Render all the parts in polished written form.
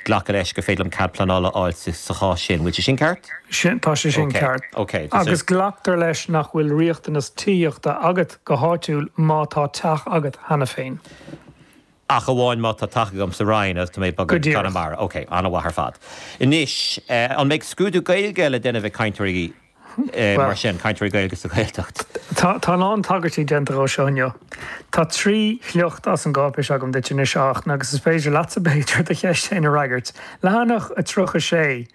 Glacadh leis gur féidir liom cead pleanála a fháil sa chás sin. Bhfuil sé sin ceart? Sin, tá sé sin ceart. Ok. Agus glactar leis nach bhfuil riachtanas tithíochta agat go háitiúil má tá teach agat cheana féin. Ach amháin má tá teach agam sa Rinn agus tá mé ag bogadh go Conamara. Ok, an-mhaith ar fad. Anois, an mbeidh scrúdú Gaeilge le déanamh ag cainteoirí mar sin, cainteoirí Gaeilge sa Ghaeltacht? Tá a lán tagairtí déanta dhó seo inniu. Tá 3 shliocht as an gcáipéis agam duit anois, a Fhachtna, agus is féidir leatsa, b'fhéidir, do cheist féin a fhreagairt. Leathanach 36.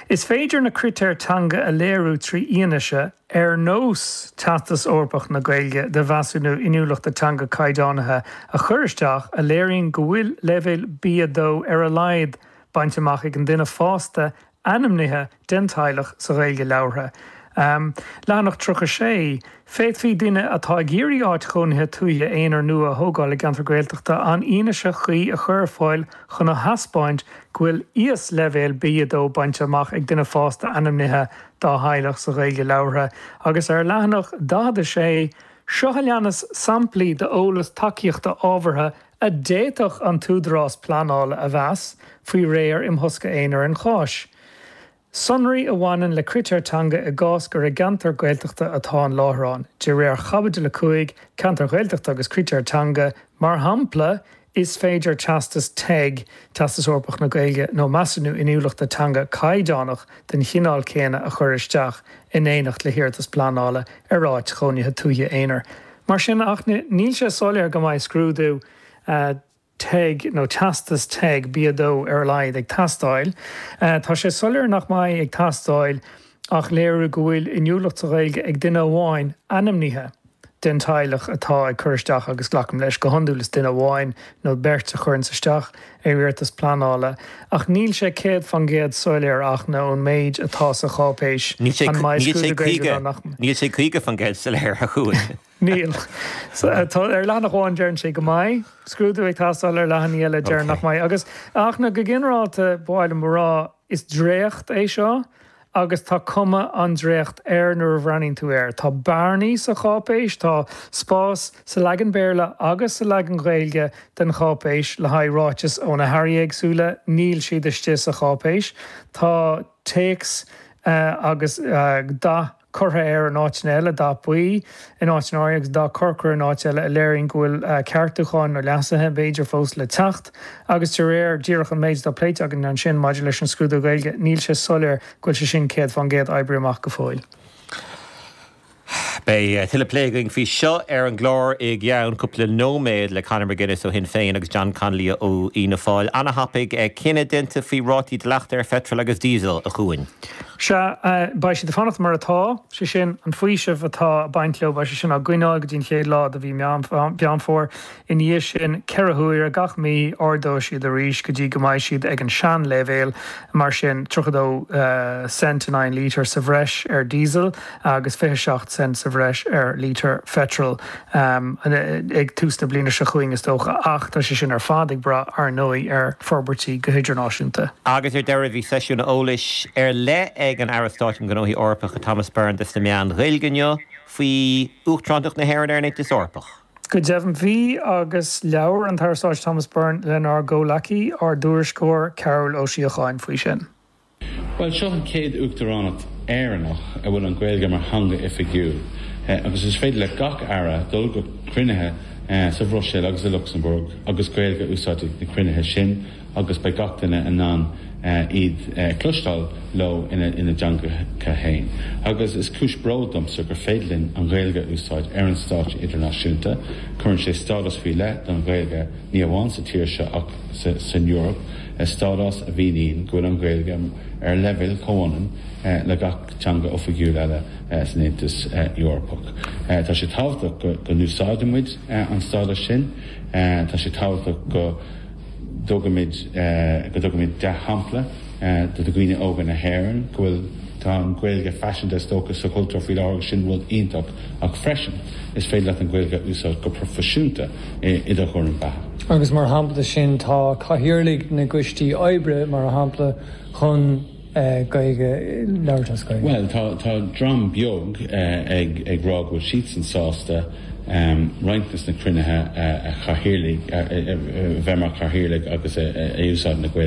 Is féidir na critéir teanga a léiriú 3 fhianaise, ar nós Teastas Eorpach na Gaeilge de Mheasúnú Inniúlachta Teanga Caighdeánaithe a chur isteach, a léiríonn go bhfuil leibhéal B2 ar a laghad bainte amach ag an duine fásta ainmnithe den teaghlach sa Ghaeilge labhartha. Leathanach 36, Féadfaidh duine atá ag iarraidh áit chónaithe tuaithe aonair nua a thógáil i gceantar Gaeltachta an fhianaise chuí a chur ar fáil chun a thaispeáint go bhfuil íosleibhéal B2 bainte amach ag duine fásta ainmnithe dá theaghlach sa Ghaeilge labhartha agus ar leathanach 46, Seo a leanas samplaí d'eolas tacaíochta ábhartha a d'fhéadfadh an t-údarás pleanála a mheas, faoi réir imthosca aonair an cháis. Sonraí a bhaineann le critéir teanga i gcás gur i gceantar Gaeltachta atá an láithreán, de réir Chaibidil 5, Ceantair Ghaeltachta agus Critéir Teanga, mar shampla, is féidir teastas teg, Teastas Eorpach na Gaeilge, nó Measúnú Inniúlachta Teanga caighdeánach den chineál céanna a chur isteach in éineacht le hiarratas pleanála ar áit chónaithe tuaithe aonair. Mar sin, a Fhachtna, níl sé soiléir go mbeidh scrúdú teg nó teastas teg B2 ar a laghad ag teastáil. Tá sé soiléir nach mbeidh ag teastáil ach léiriú go bhfuil inniúlacht sa Ghaeilge ag duine amháin ainmnithe den teaghlach atá ag cur isteach agus glacaim leis, go hiondúil is duine amháin nó beirt a chuireanns isteach ar iarratas pleanála. Ach níl sé 100% soiléir a Fhachtna ón méid atá sa cháipéis an mbeidh scrúdú Gaeilge nó nach mbeidh. Níl sé 50% soiléir a Chuain. Níl. Tá, ar leathanach amháin deireann sé go mbeidh scrúdú ag teastáil, ar leathanaigh eile deireann nach mbeidh. Agus, a Fhachtna, go ginearálta, ba mhaith liom a rá, is dréacht é seo agus tá cuma an dréacht air nuair a bhreathnaíonn tú air. Tá bearnaí sa cháipéis, tá spás sa leagan Béarla agus sa leagan Gaeilge den cháipéis le haghaidh ráiteas ó na hairí éagsúla, níl siad istigh sa cháipéis. Tá téacs agus dath curtha air in áiteanna eile, dath buí in áiteanna áirithe agus dath corcra in áit eile, a léiríonn go bhfuil ceartúcháin nó leasuithe, b'fhéidir, fós le teacht. Agus de réir díreach an méid atá pléite againn ansin maidir leis an scrúdú Gaeilge, níl sé soiléir go bhfuil sé sin 100% oibrithe amach go fóill. Beidh tuilleadh plé againn faoi seo ar an gclár i gceann cúpla nóiméad le Conor McGuinness ó Shinn Féin agus John Connolly ó Fhianna Fáil. Ana-thapaidh, cinneadh déanta faoi rátaí dleachta ar pheitreal agus díosal, a Chuain. Sea, beidh siad ag fanacht mar atá, sé sin, an faoiseamh atá ag baint leo, beidh sé sin á gcoinneáil go dtí an chéad lá de mhí Meán Fómhair. Ina dhiaidh sin, 4 huaire gach mí, ardóidh siad arís go dtí go mbeidh siad ag an seanleibhéal, mar sin, 32 cent in aghaidh an lítir sa bhreis ar diesel agus 27 cent sa bhreis ar lítear pheitril ag tús na bliana seo chugainn, is dócha. Ach tá sé sin ar fad ag brath, ar ndóigh, ar forbairtí go hidirnáisiúnta. Agus ar deireadh, bhí seisiún eolais ar leith ag an Aire Stáit um Ghnóthaí Eorpacha Thomas Byrne dos na meáin Ghaeilge inniu faoi Uachtarántacht na hÉireann ar an Aontas Eorpach. Go deimhin bhí, agus labhair an tAire Stáit Thomas Byrne lenár gcomhleacaí, ár dtuairisceoir Cearbhall Ó Síocháin faoi sin. Bhuel, seo an chéad Uachtaránacht Éireannach a bhfuil an Ghaeilge mar theanga oifigiúil agus is féidir le gach Aire dul go cruinnithe sa Bhruiséil agus i Lucsamburg agus Gaeilge a úsáid ag na cruinnithe sin agus beidh gach duine in ann iad a chloisteáil leo ina dteangacha féin. Agus is cúis bróid domsa gur féidir linn an Ghaeilge a úsáid ar an stáitse idirnáisiúnta. Cuireann sé stádas faoi leith don Ghaeilge ní amháin sa tír seo ach san Eoraip. Stádas a mhíníonn go bhfuil an Ghaeilge ar leibhéal comhionann le gach teanga oifigiúil eile san Aontas Eorpach. Tá sé tábhachtach go n-úsáideann muid an stádas sin. Tá sé tábhachtach go dtugaimid go dtugaimid dea-shampla do dhaoine óga na hÉireann go bhfuil tá an Ghaeilge faiseanta is dócha sa chultúr faoi láthair agus sin rud iontach ach freisin is féidir leat an Ghaeilge a úsáid go proifisiúnta i do chúram beatha. Agus mar shampla de sin tá cathaoirligh na gcoistí oibre, mar shampla, chun Gaeilge labhairt as Gaeilge. Bhuel, tá, tá dream beag ag, ag rá go bhfuil siadsan sásta. Roinnt de na cruinnithe a chathaoirligh, a bheith mar chathaoirligh agus a úsáid na Gaeilge.